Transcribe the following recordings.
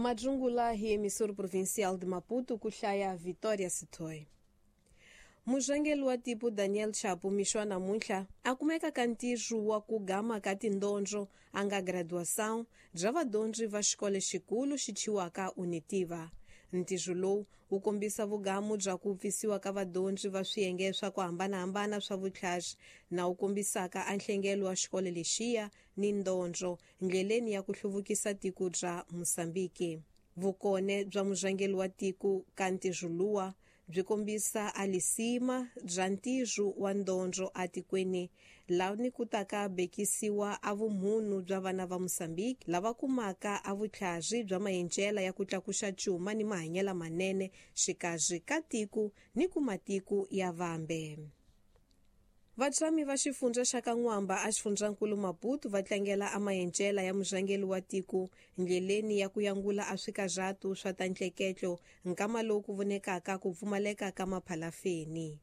Madrungula hi emissora provincial de Maputo ku hlaya Vitória Sitoy. Murhangeri wa tipo Daniel Chapo mixo namuntlha a kumeka ka ntirho wa ku gama ka tindondzo a nga graduação bya vadyondzi va xikolo xikulu xi thyiwaka Unitiva. Ntirho lowu wu kombisa vugamu bya ku pfisiwa ka vadyondzi va swiyenge swa ku hambanahambana swa vutlhari na wu kombisaka a nhlengelo wa xikolo lexiya ni ndondzo ndleleni ya ku hluvukisa tiko bya Mosambiki. Vukone bya murhangeri wa tiko ka ntirho luwa byi kombisa a lisima bya ntirho wa ndondzo atikweni lani ku taka bekisiwa a vumunhu bya vana va Mosambiki lava kumaka a vutlhari bya maendlela ya ku tlakuxa cuma ni mahanyelo manene xikarhi ka tiko ni ku matiko ya vambe. Vatshami va xifundza xa Kan'wamba a xifundzankulu Maputo va tlangela a maendlela ya murhangeri wa tiko ndleleni ya ku yangula a swikarhatu swa ta ntleketlo nkama lowu ku vonekaka ku pfumaleka ka maphalafeni.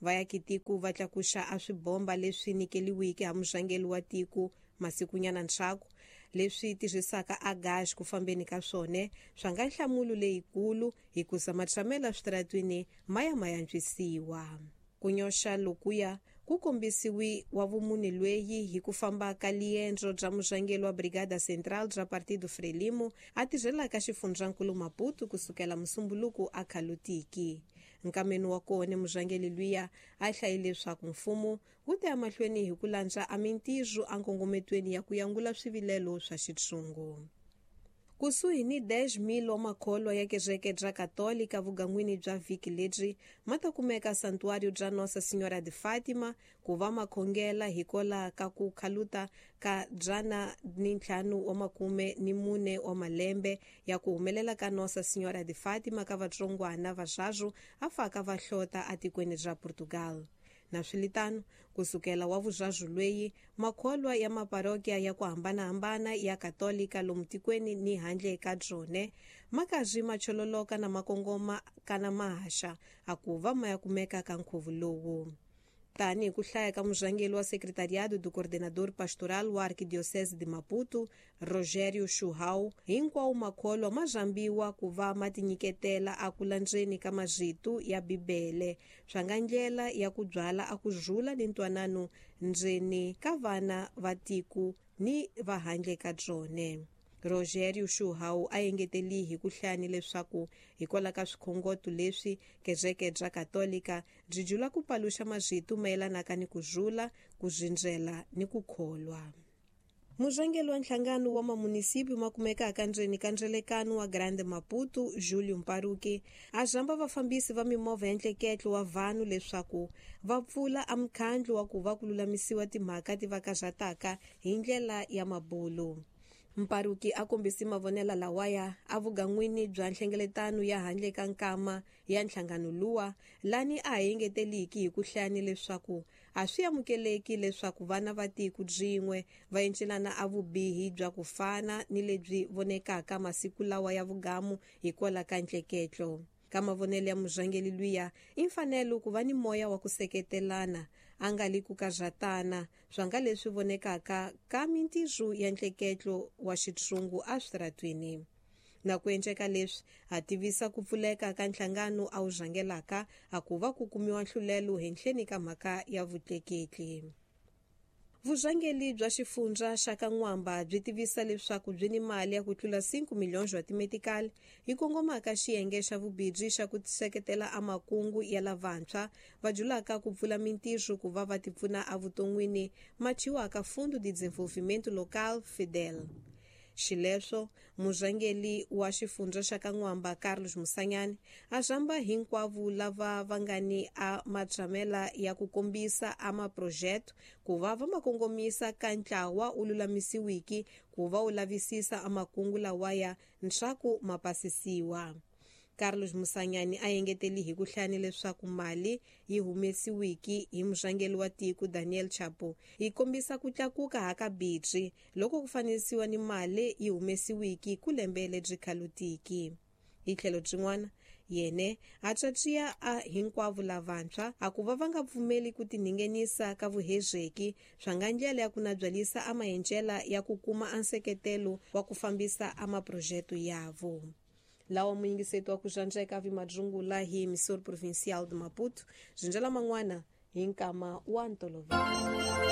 Vayakitiko va tlakuxa a swibomba leswi nyikeliweke ha murhangeri wa tiko masikunyana ndzhaku leswi tirhisaka a gas ku fambeni ka swona swa nga nhlamulo leyikulu hikuza matshamelo eswitaratwini ma ya ma antswisiwa. Ku nyoxa lokuya ku kombisiwi wa vumune lweyi hi ku famba ka liendzo bya murhangeri wa Brigada Central bya Partido Frelimo a tirhelaka xifundzankulu Maputo kusukela musumbuluku a khalutiki. Nkameni wa kona murhangeri luya a hlayile leswaku mfumo wu ta ya mahlweni hi ku landza a mintirho a nkongometweni ya ku yangula swivilelo swa xitshungu. Kusuhi ni 10,000 wa makholwa ya kereke bya Katolika vugan'wini bya vhiki lebyi ma ta kumeka Santuário bya Nossa Senhora de Fátima ku va makhongela hikola ka ku khaluta ka 154 wa malembe ya ku humelela ka Nossa Senhora de Fátima ka vatsongwana va a faka va hlota atikweni ra Portugal. Na swilitano kusukela wa vuzvazu lweyi makholwa ya maparokia ya ku hambanahambana ya Katolika lomu tikweni ni handle ka byone makazi machololoka na makongoma kana mahaxa akuva ma ya kumeka ka nkhuvo lowu. Tani ku hlaya ka murhangeri wa Secretariado do Coordenador Pastoral wa Arquidiocese de Maputo, Rogério Chuhau, hinkwawo makholwa ma zambiwa ku va ma tinyiketela a ku landzeni ka marito ya Bibele swa nga ndlela ya ku byala a ku zula ni ntwanano ndzeni ka vana va tiko ni va handle ka byone. Rogério Chuhau a engeteli hi ku hlaya leswaku hikwalaho ka swikhongoto leswi kereke bya Katolika byi jula ku paluxa marito mayelanaka ni ku zula, ku zindzela ni ku kholwa. Murhangeri wa nhlangano wa mamunisipi ma kumekaka ndzeni ka ndzelekano wa Grande Maputo, Julio Mparuki, a zamba vafambisi va mimovha ya ntleketlo wa vanhu leswaku va pfula a mukhandlu wa ku va ku lulamisiwa timhaka ti va karhataka hi ndlela ya mabulu. Mparuki a kombisi mavonelo lawaya a vugan'wini bya nhlengeletano ya handle ka nkama ya nhlangano luwa lani a engeteliki hi ku hlaya leswaku a swi amukeleki leswaku vana va tiko byin'we va encelana a vubihi bya ku fana ni lebyi vonekaka masiku lawa ya vugamu hikwalaho ka ntleketlo. Ka mavonelo ya murhangeri luya i mfanelo ku va ni moya wa ku seketelana a nga li ku karhatana swa nga leswi vonekaka ka mintirho ya ntleketlo wa xitshungu eswitaratwini. Na ku endleka leswi a tivisa ku pfuleka ka nhlangano a wu rhangelaka a ku va ku kumiwa nhlulelo henhleni ka mhaka ya vutleketli. Vurhangeri bya xifundza xa Kan'wamba byi tivisa leswaku byi ni mali ya ku tlula 5 miliyoni wa timetikali yi kongomaka xiyenge xa vubindzu xa ku seketela a makungu ya lavantshwa va julaka ku pfula mintirho ku va va tipfuna evuton'wini machiwaka Fundo de Desenvolvimento Local FEDEL. Xileswo murhangeri wa xifundza xa Kan'wamba Carlos Musanyani a zamba hinkwavo lava va nga ni a matshamela ya ku kombisa a maprojeto ku va va makongomisa ka ntlawa wu lulamisiwiki ku va wu lavisisa a makungu lawaya ntshaku ma pasisiwa. Carlos Musanyani a engeteli hi ku hlaya leswaku mali yi humesiwiki hi murhangeri wa tiko Daniel Chapo yi kombisa ku tlakuka haka bitri loko ku fanisiwa ni mali yi humesiwiki ku lembe lebyi khalutiki. Hi tlhelo byin'wana Yene a tswatswiya a hinkwavo lavantshwa a ku va va nga pfumeli ku tiningenisa ka vuhezeki swa nga ndlela ya ku nabyalisa a mahencela ya ku kuma a nseketelo wa ku fambisa a maprojeto yavo. Lawa muyingiseti wa ku zvandzeka vimadzungula hi emissor provincial de Maputo, zinjela man'wana hi nkama wa ntolovelo.